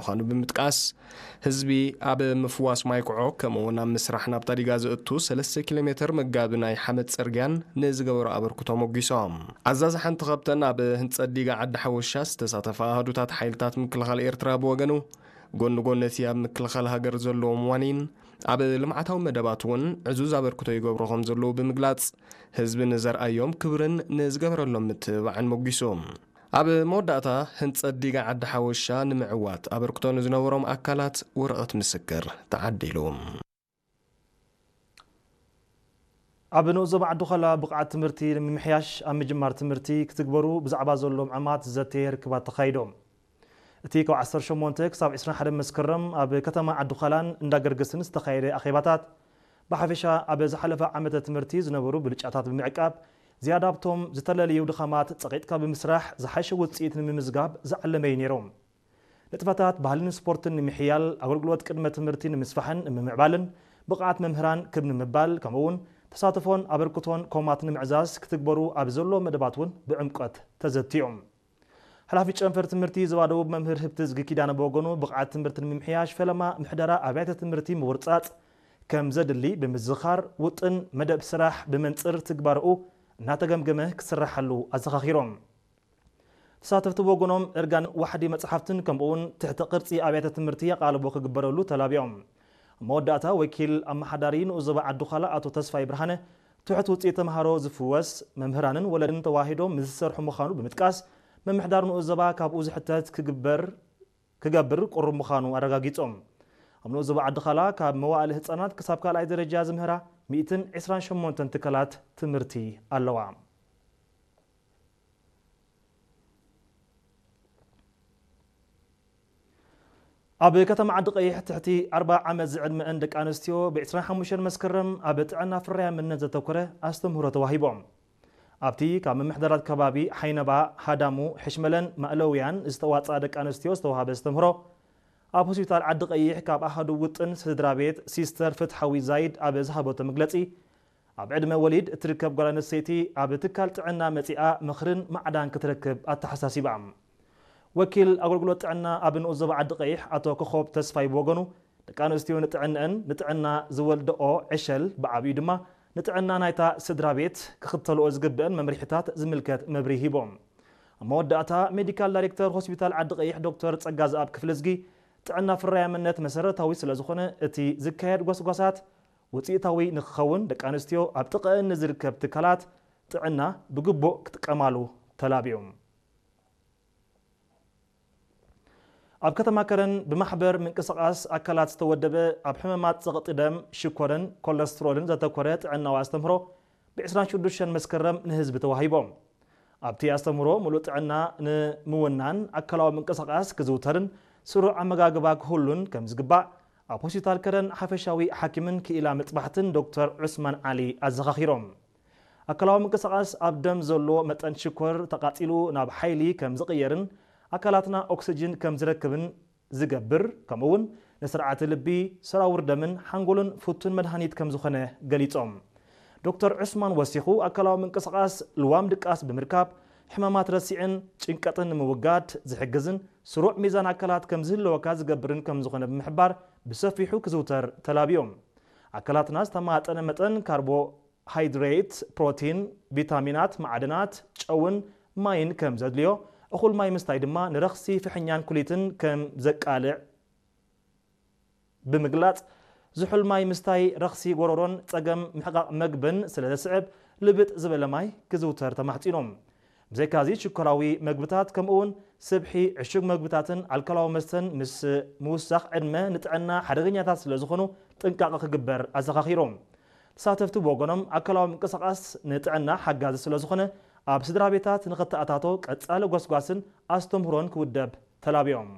ምዃኑ ብምጥቃስ፣ ህዝቢ ኣብ ምፍዋስ ማይ ኩዖ ከምኡ እውን ኣብ ምስራሕ ናብታ ዲጋ ዘእቱ ሰለስተ ኪሎ ሜትር መጋቢ ናይ ሓመድ ጽርግያን ንዝገበሮ ኣበርክቶ ሞጊሶም። ኣዛዚ ሓንቲ ካብተን ኣብ ህንጸት ዲጋ ዓዲ ሓወሻ ዝተሳተፋ ኣሃዱታት ሓይልታት ምክልኻል ኤርትራ ብወገኑ፣ ጎኒ ጎኒ እቲ ኣብ ምክልኻል ሃገር ዘለዎም ዋኒን፣ ኣብ ልምዓታዊ መደባት እውን ዕዙዝ ኣበርክቶ ይገብሩ ከም ዘለዉ ብምግላጽ፣ ህዝቢ ንዘርኣዮም ክብርን ንዝገበረሎም ምትብባዕን ሞጊሱ። ኣብ መወዳእታ፣ ህንጸት ዲጋ ዓዲ ሓወሻ ንምዕዋት ኣበርክቶ ንዝነበሮም ኣካላት ወረቐት ምስክር ተዓዲሉ። ኣብ ንኡስ ዞባ ዓዲ ዃላ ብቕዓት ትምህርቲ ንምምሕያሽ ኣብ ምጅማር ትምህርቲ ክትግበሩ ብዛዕባ ዘሎ ምዕማት ዝዘተየ ርክባት ተኻይዶም። እቲ ካብ ዓሰርተ ሸሞንተ ክሳብ ዕስራን ሓደን መስከረም ኣብ ከተማ ዓዲ ዃላን እንዳገርግስን ዝተኻየደ ኣኼባታት፣ ብሓፈሻ ኣብ ዝሓለፈ ዓመተ ትምህርቲ ዝነበሩ ብልጫታት ብምዕቃብ፣ ዝያዳ ኣብቶም ዝተለለዩ ድኻማት ጸቒጥካ ብምስራሕ ዝሓሸ ውጽኢት ንምምዝጋብ ዝዓለመ እዩ ነይሩ። ንጥፈታት ባህልን ስፖርትን ንምሕያል፣ ኣገልግሎት ቅድመ ትምህርቲ ንምስፋሕን ንምምዕባልን፣ ብቕዓት መምህራን ክብ ንምባል፣ ከምኡ እውን ተሳትፎን ኣበርክቶን ኮማት ንምዕዛዝ ክትግበሩ ኣብ ዘሎ መደባት እውን ብዕምቀት ተዘትዮም። ሓላፊ ጨንፈር ትምህርቲ ዞባ ደቡብ መምህር ህብትዝጊ ኪዳነ ብወገኑ፣ ብቕዓት ትምህርቲ ንምምሕያሽ ፈለማ ምሕደራ ኣብያተ ትምህርቲ ምውርጻጽ ከም ዘድሊ ብምዝኻር፣ ውጥን መደብ ስራሕ ብመንጽር ትግባረኡ እናተገምገመ ክስራሓሉ ኣዘኻኺሮም። ተሳተፍቲ ብወገኖም፣ እርጋን ዋሕዲ መጽሓፍትን ከምኡውን ትሕቲ ቅርጺ ኣብያተ ትምህርቲ ኣቓልቦ ክግበረሉ ተላቢዮም። ኣብ መወዳእታ፣ ወኪል ኣመሓዳሪ ንኡስ ዞባ ዓዲ ዃላ ኣቶ ተስፋይ ብርሃነ፣ ትሑት ውጽኢት ተምሃሮ ዝፍወስ፣ መምህራንን ወለድን ተዋሂዶም ምስ ዝሰርሑ ምዃኑ ብምጥቃስ፣ ምምሕዳር ንኡስ ዞባ ካብኡ ዝሕተት ክግበር፣ ክገብር ቅሩብ ምዃኑ ኣረጋጊጾም። ኣብ ንኡስ ዞባ ዓዲ ዃላ ካብ መዋእለ ህጻናት ክሳብ ካልኣይ ደረጃ ዝምህራ ሚእትን ዕስራን ሸሞንተን ትካላት ትምህርቲ ኣለዋ። ኣብ ከተማ ዓዲ ቀይሕ ትሕቲ ኣርብዓ ዓመት ዝዕድመአን ደቂ ኣንስትዮ ብ ዕስራን ሓሙሽተን መስከረም ኣብ ጥዕና ፍርያምነት ዘተኮረ ኣስተምህሮ ተዋሂቦም። ኣብቲ ካብ ምምሕዳራት ከባቢ ሓይነባ፣ ሃዳሙ፣ ሕሽመለን ማእለውያን ዝተዋፅኣ ደቂ ኣንስትዮ ዝተዋሃበ ኣስተምህሮ፣ ኣብ ሆስፒታል ዓዲ ቀይሕ ካብ ኣሃዱ ውጥን ስድራ ቤት ሲስተር ፍትሓዊ ዛይድ ኣብ ዝሃበቶ መግለፂ፣ ኣብ ዕድመ ወሊድ እትርከብ ጓል ኣንስተይቲ ኣብ ትካል ጥዕና መፂኣ ምኽርን ማዕዳን ክትረክብ ኣተሓሳሲባ። ወኪል ኣገልግሎት ጥዕና ኣብ ንኡስ ዞባ ዓዲ ቀይሕ ኣቶ ኮኾብ ተስፋይ ብወገኑ፣ ደቂ ኣንስትዮ ንጥዕንአን፣ ንጥዕና ዝወልደኦ ዕሸል ብዓብዩ ድማ ንጥዕና ናይታ ስድራ ቤት ክኽተልኦ ዝግብአን መምርሒታት ዝምልከት መብርሂ ሂቦም። ኣብ መወዳእታ፣ ሜዲካል ዳይሬክተር ሆስፒታል ዓዲ ቀይሕ ዶክተር ጸጋዝኣብ ክፍለዝጊ፣ ጥዕና ፍርያምነት መሰረታዊ ስለ ዝኾነ፣ እቲ ዝካየድ ጎስጓሳት ውጽኢታዊ ንክኸውን፣ ደቂ ኣንስትዮ ኣብ ጥቕአን ንዝርከብ ትካላት ጥዕና ብግቡእ ክጥቀማሉ ተላብዮም። ኣብ ከተማ ከረን ብማሕበር ምንቅስቓስ ኣካላት ዝተወደበ፣ ኣብ ሕማማት ጸቕጢ ደም፣ ሽኮርን ኮለስትሮልን ዘተኮረ ጥዕናዊ ኣስተምህሮ ብ ዕስራን ሽዱሽተን መስከረም ንህዝቢ ተዋሂቦም። ኣብቲ ኣስተምህሮ፣ ምሉእ ጥዕና ንምውናን ኣካላዊ ምንቅስቓስ ክዝውተርን ስሩዕ ኣመጋግባ ክህሉን ከም ዝግባእ፣ ኣብ ሆስፒታል ከረን ሓፈሻዊ ሓኪምን ክኢላ መጥባሕትን ዶክተር ዑስማን ዓሊ ኣዘኻኺሮም። ኣካላዊ ምንቅስቓስ ኣብ ደም ዘሎ መጠን ሽኮር ተቓጺሉ ናብ ሓይሊ ከም ዝቕየርን ኣካላትና ኦክስጅን ከም ዝረክብን ዝገብር፣ ከምኡ እውን ንስርዓተ ልቢ፣ ሰራውር ደምን ሓንጎልን ፍቱን መድሃኒት ከም ዝኾነ ገሊጾም። ዶክተር ዑስማን ወሲኹ፣ ኣካላዊ ምንቅስቓስ ልዋም ድቃስ ብምርካብ፣ ሕማማት ረሲዕን ጭንቀትን ንምውጋድ ዝሕግዝን ስሩዕ ሚዛን ኣካላት ከም ዝህልወካ ዝገብርን ከም ዝኾነ ብምሕባር፣ ብሰፊሑ ክዝውተር ተላብዮም። ኣካላትና ዝተማጠነ መጠን ካርቦ ሃይድሬት፣ ፕሮቲን፣ ቪታሚናት፣ ማዕድናት፣ ጨውን ማይን ከም ዘድልዮ፣ እኹል ማይ ምስታይ ድማ ንረኽሲ ፍሕኛን ኩሊትን ከም ዘቃልዕ ብምግላጽ፣ ዝሑል ማይ ምስታይ ረኽሲ ጎረሮን ጸገም ምሕቃቕ መግብን ስለ ዘስዕብ፣ ልብጥ ዝበለ ማይ ክዝውተር ተማሕጺኖም። ብዘይካዚ፣ ሽኮራዊ መግብታት ከምኡውን ስብሒ፣ ዕሹግ መግብታትን ኣልኮላዊ መስተን ምስ ምውሳኽ ዕድመ ንጥዕና ሓደገኛታት ስለ ዝኾኑ ጥንቃቐ ክግበር ኣዘኻኺሮም። ተሳተፍቲ ብወገኖም፣ ኣካላዊ ምንቅስቓስ ንጥዕና ሓጋዚ ስለ ዝኾነ፣ ኣብ ስድራ ቤታት ንኽተኣታቶ ቀጻሊ ጎስጓስን ኣስተምህሮን ክውደብ ተላብዮም።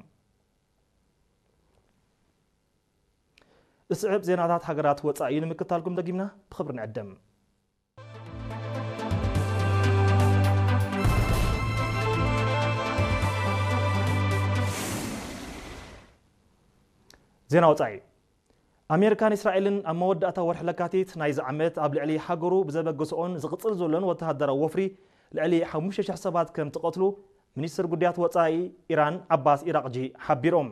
ዝስዕብ ዜናታት ሃገራት ወጻኢ ንምክታልኩም ደጊምና ብኽብሪ ንዕድም። ዜና ወጻኢ። ኣሜሪካን እስራኤልን ኣብ መወዳእታ ወርሒ ለካቲት ናይዚ ዓመት ኣብ ልዕሊ ሃገሩ ብዘበገስኦን ዝቕጽል ዘሎን ወተሃደራዊ ወፍሪ ልዕሊ ሓሙሽተ ሽሕ ሰባት ከም ትቐትሉ ሚኒስትር ጉዳያት ወጻኢ ኢራን ዓባስ ኢራቕጂ ሓቢሮም።